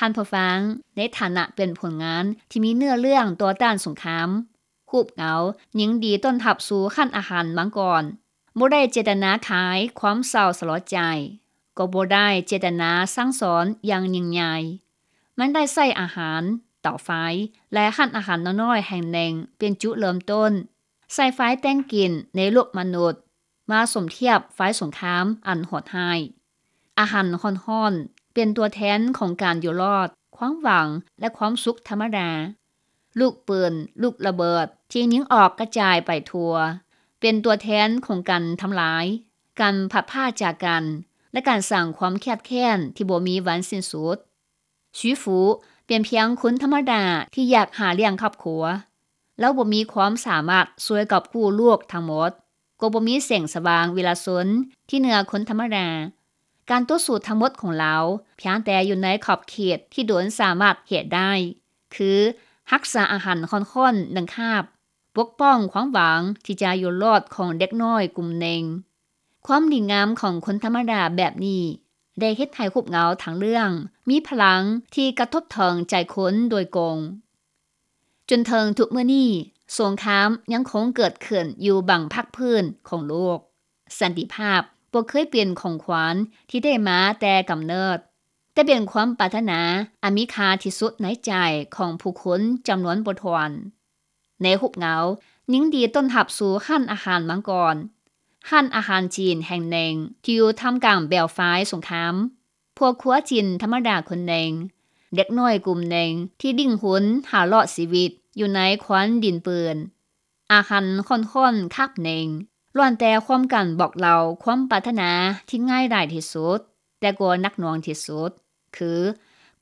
ທ່ານຜູ້ຟັງ, ໃນຖານະເປັນຜົນງານທີ່ມີເນື້ອເລື່ອງຕໍ່ຕ້ານສົງຄາມ, ຮູບເງົາຍິນດີຕ້ອນຮັບສູ່ຮ້ານອາຫານມັງກອນ, ບໍ່ໄດ້ເຈດຕະນາຂາຍຄວາມເສົ້າສະຫຼົດໃຈ, ກໍບໍ່ໄດ້ເຈດຕະນາສັ່ງສອນຢ່າງຍິ່ງໃຫຍ່. ມັນໄດ້ໃຊ້ອາຫານ, ເຕົາໄຟ ແລະ ຮ້ານອາຫານນ້ອຍໆແຫ່ງໜຶ່ງເປັນຈຸເລີ່ມຕົ້ນ, ໃຊ້ໄຟແຕ່ງກິນໃນໂລກມະນຸດ ມາສົມທຽບໄຟສົງຄາມອັນໂຫດຮ້າຍ. ອາຫານຮ້ອນໆເປັນຕົວແທນຂອງການຢູ່ລອດ, ຄວາມຫວັງ ແລະ ຄວາມສຸກທຳມະດາ. ລູກປືນ, ລູກລະເບີດທີ່ຍິງອອກກະຈາຍໄປທົ່ວ ເປັນຕົວແທນຂອງການທຳລາຍ, ການພັດພາກຈາກກັນ ແລະ ການສ້າງຄວາມຄຽດແຄ້ນທີ່ບໍ່ມີວັນສິ້ນສຸດ. ຊຸຍຟູເປັນພຽງຄົນທຳມະດາທີ່ຢາກຫາລ້ຽງຄອບຄົວ. ລາວບໍ່ມີຄວາມສາມາດຊ່ວຍກອບກູ້ໂລກທັງໝົດ, ກໍບໍ່ມີແສງສະຫວ່າງວິລະຊົນທີ່ເໜືອຄົນທຳມະດາ. ການຕໍ່ສູ້ທັງໝົດຂອງລາວພຽງແຕ່ຢູ່ໃນຂອບເຂດທີ່ໂດຣນສາມາດເຮັດໄດ້, ຄືຮັກສາອາຫານຮ້ອນໆໜຶ່ງຄາບ, ປົກປ້ອງຄວາມຫວັງທີ່ຈະຢູ່ລອດຂອງເດັກນ້ອຍກຸ່ມໜຶ່ງ. ຄວາມດີງາມຂອງຄົນທຳມະດາແບບນີ້ ໄດ້ເຮັດໃຫ້ຮູບເງົາທັງເລື່ອງມີພະລັງທີ່ກະທົບເຖິງໃຈຄົນໂດຍກົງ. ຈົນເຖິງທຸກມື້ນີ້, ສົງຄາມຍັງຄົງເກີດຂຶ້ນຢູ່ບາງພາກພື້ນຂອງໂລກ. ສັນຕິພາບບໍ່ເຄີຍເປັນຂອງຂວັນທີ່ໄດ້ມາແຕ່ກຳເນີດ, ແຕ່ເປັນຄວາມປາດຖະໜາອັນມີຄ່າທີ່ສຸດໃນໃຈຂອງຜູ້ຄົນຈຳນວນບໍ່ຖ້ວນ. ໃນຮູບເງົາ, ຍິນດີຕ້ອນຮັບສູ່ຮ້ານອາຫານມັງກອນ, ຮ້ານອາຫານຈີນແຫ່ງໜຶ່ງທີ່ຢູ່ທ່າມກາງແບວໄຟສົງຄາມ. ພວກຄົວຈີນທຳມະດາຄົນໜຶ່ງ, ເດັກນ້ອຍກຸ່ມໜຶ່ງທີ່ດີ້ນຮົນຫາລອດຊີວິດຢູ່ໃນຄວັນດິນປືນ. ອາຫານຮ້ອນໆຄາບໜຶ່ງ ລ້ວນແຕ່ຮ່ວມກັນບອກເລົ່າຄວາມປາດຖະໜາທີ່ງ່າຍດາຍທີ່ສຸດ, ແຕ່ກໍໜັກໜ່ວງທີ່ສຸດ, ຄື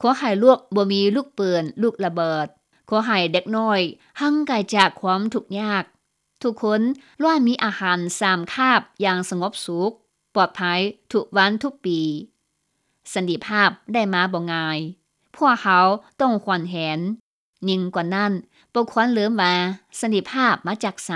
ຂໍໃຫ້ລູກບໍ່ມີລູກປືນ, ລູກລະເບີດ, ຂໍໃຫ້ເດັກນ້ອຍຫ່າງໄກຈາກຄວາມທຸກຍາກ. ທຸກຄົນລ້ວນມີອາຫານສາມຄາບຢ່າງສະຫງົບສຸກ, ປອດໄພທຸກວັນທຸກປີ. ສັນຕິພາບໄດ້ມາບໍ່ງ່າຍ. ພວກເຮົາຕ້ອງຫວນແຫນ. ຍິ່ງກວ່ານັ້ນ, ບໍ່ຄວນລືມວ່າສັນຕິພາບມາຈາກໃສ.